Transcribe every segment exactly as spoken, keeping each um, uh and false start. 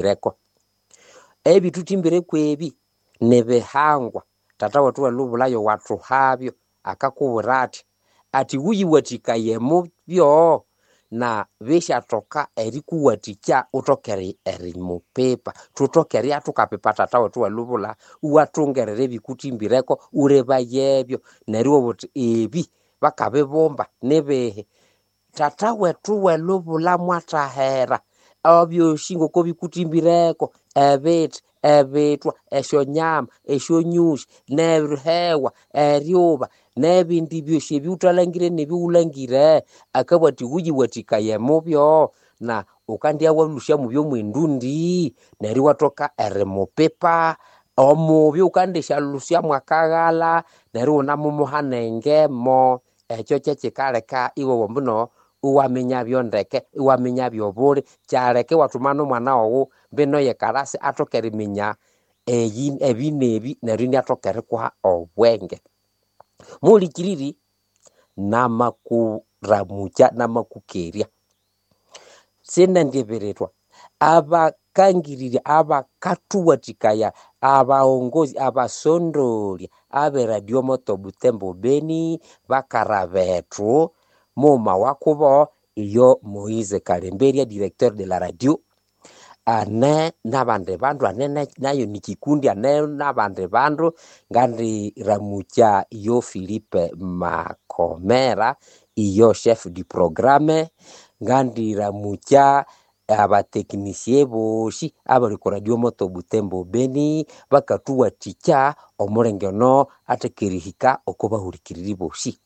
Ebithuthĩmbĩreko. Ebithuthĩmbĩreko ebi nibihangwa. Tata wethu welubulayo wathuhabyo akakubwira athi, athi wuyiwathikaye mubyo na bisyathoka erikuwathikya uthoke erimupipa. Thuthoke eribya thukapipa tata wethu welubulha iwathungerera ebikuthimbireko wulebayebyo neryo iwabugha wuthi ebi bakabibumba nibihi. Tata wethu welubulha mwathahera ebyosi ngoko bikuthimbireko, ebithi, ebithwa, esyonyama, esyonyusi, nerihewa, eryuba, nebindi byosi ebiwuthalangire nebiwulangire, akabugha athi wuyiwathikaye mubyo na wukandibya walhusya mubyo mwendundi neryo iwathoka erimupipa omubyo wukandisyalusya mwakaghalha neryo iwunamumuha nengemo. Ekyo kyekikaleka iwowa ambuno iwaminyabyo ndeke, iwaminyabyo obuli, kyaleka iwathuma nomwana waghu mbino yekalasi athoke eriminya eyi ebi nebi neryo iniathoka erikuha obwenge. Muhulikiriri, namakuramukya namakukerya, sinendibirithwa abakangirirya abakathuwathikaya abaghongozi abasondolya abe Radio Moto Butembo Beni bakara bethu mughuma wakubo iyo Moise Kalemberya directeur de la radio ane nabandi bandu ane nayo nikikundi ane nabandi bandu ngandiramukya iyo Philippe Makomera iyo chef du programme ngandiramukya abatechnicien bosi abali ku Radio Moto Butembo Beni bakathuwathikya omulenge ono athaka erihika oko bahulikiriri bosi.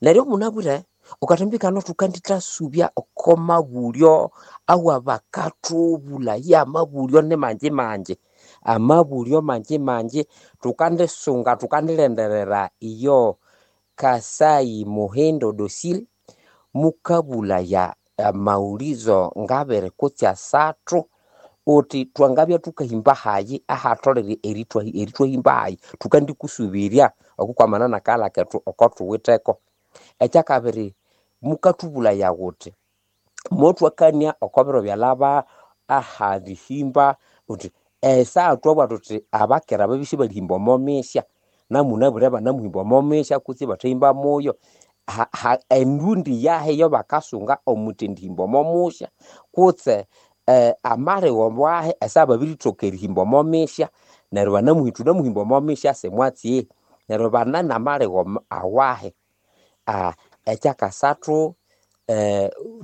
Neryo munabwire wukathambikana thukandithasubya oko mabulyo awabakathubulaya amabulyo nimangi mangi, amabulyo mangi mangi thukandisunga thukandilindirira iyo Kasai Muhindo Dosil mukabulaya amawulizo ngabiri kutse asathu uthi thwangabya thukahimba hayi ahatholere erithwahimba hayi thukandikusubirya okukwamana nakaghalha kethu okothuwitheko. Ekyakabiri mukathubulaya wuthi mothwakania oko biro byalhaba aharihimba uthi esaha thwabugha thuthi abakera babya isibalihimba omo misya namunabwire banamuhimba omo misya kutse ibathahimba muyo endundi yahi eyabakasunga omwithendihimba omo musya kutse amaligho wahi esaha babirithoka erihimba omo misya neryo thunamuhimba omo misya simwatsi neryo bane namaligho awahi. Ekyakasathu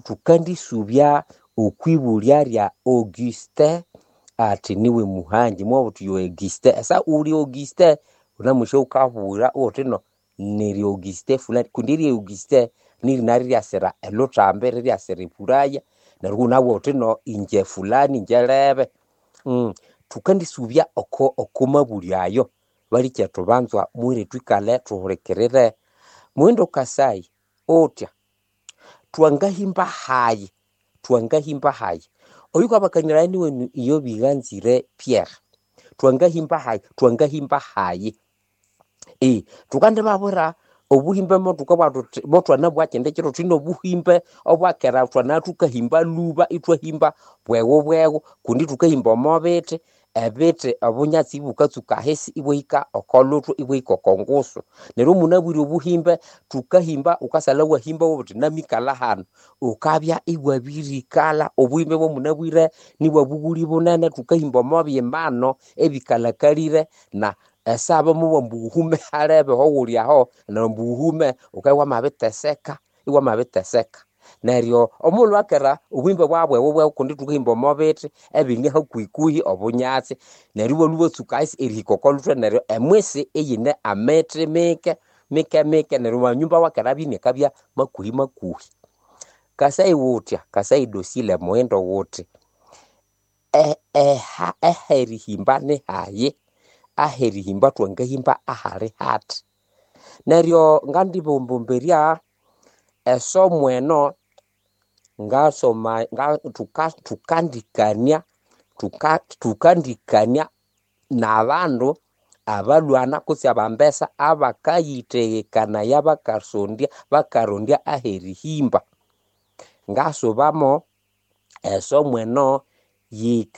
thukandisubya okwibulya lya Augustin athi niwe muhangi mwabugha wuthi yo Augustin esaha wuli Augustin wunamusya wukabugha wuthino niri Augustin fulani kundi erya Augustin nirina riryasira elhuthambi riryasira ebulaya neryo iwunabugha wuthino ingye fulani ingye lebe. Thukandisubya oko mabulyo ayo balikyetu banzwa mughire thwikalhe thuhulikirire. Muhindo Kasai uthya thwangahimba hayi thwangahimba hayi oyukabakaniraya niwenu iyo Bighanzire Pierre thwangahimba hayi thwangahimba hayi thukandibabwira obuhimbe mothukabugha thuthi mothwanabugha kyindi kiro thwine obuhimbe obwakera thwanabya thukahimba lhuba ithwahimba bweghu bweghu kundi thukahimba omo bithi, ebithi obunyatsi ibukatsuka ahisi ibwahika oko luthwe ibwahika oko ngusu. Neryo munabwire obuhimbe thukahimba wukasalha iwahimba iwabugha wuthi namikalha hanu wukabya iwabirikalha. Obuhimbe bwamunabwire nibwabughuli bunene thukahimba omo byimano ebikalhakalire na esaha bamabugha ambu wuhume halebe ahawuli aho neryo ambu wuhume wukabya iwamabiteseka iwamabiteseka. Neryo omughulhu wakera obuhimbe bwabya bweghu kundi thukahimba omo bithi ebine hakuhikuhi obunyatsi neryo ibwalhwa ibwatsuka ahisi erihika oko luthwe neryo emwisi iyine amithi mike mike mike neryo amanyumba awakera abya inakabya makuhi makuhi. Kasai wuthya Kasai Dosile Muhindo wuthi aherihimba nihayi aherihimba thwangahimba ahali hathi. Neryo ngandibombombirya esomo eno ngasoma thukandikania thukandikania nabandu abalhwana kutse abambesa abakayithegekanaya bakasondya bakarondya aherihimba. Ngasubamo esomo eno Yika.